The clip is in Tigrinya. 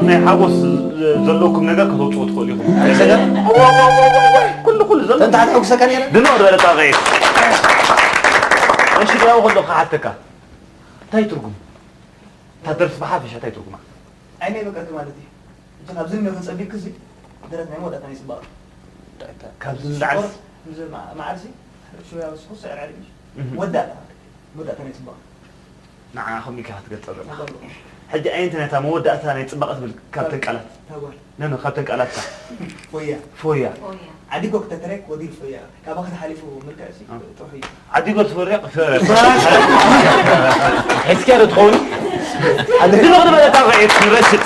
ናይ ሓጎስ ዘለኩም ነገር ከተውፅኡ ትኽእሉ ኢኹም። ኩሉ ኩሉ ዘሎ እንተ ሓትሐጉሰካ ነረ ድምቕ ዝበለ ጣቕዒት። እሺ፣ ያው ከለኹ ሓተካ እንታይ ትርጉም እታ ደርፊ ብሓፈሻ እንታይ ትርጉማ? ዓይነይ በቃ ማለት እዩ። እቲ ካብዚ ንመ ክንጸቢክ እዚ ደረት ናይ መወዳእታ ናይ ጽባቐ ካብዚ ንላዕሊ ማዕርሲ ሽያ ወስኹ ስዕር ዓሪፍ ወዳእታ መወዳእታ ናይ ጽባቐ ንዓኹም ኢልካ ክትገልጸ ዘለኻ። ሕጂ ኣየንቲ ነታ መወዳእታ ናይ ጽባቐ ትብል ካብተን ቃላት ታጓል ነነ ካብተን ቃላትካ ወያ ፎያ ዓዲጎ ክተተረክ ወዲል ፎያ ካባኻ ተሓሊፉ ምልክዕ ሲ ጥሩሕ እዩ ዓዲጎ ትፈርያ ሕዝኪያ ዶ ትኸውን? ድምቕ ዝበለ ጣቕዒት ንረሽጥ።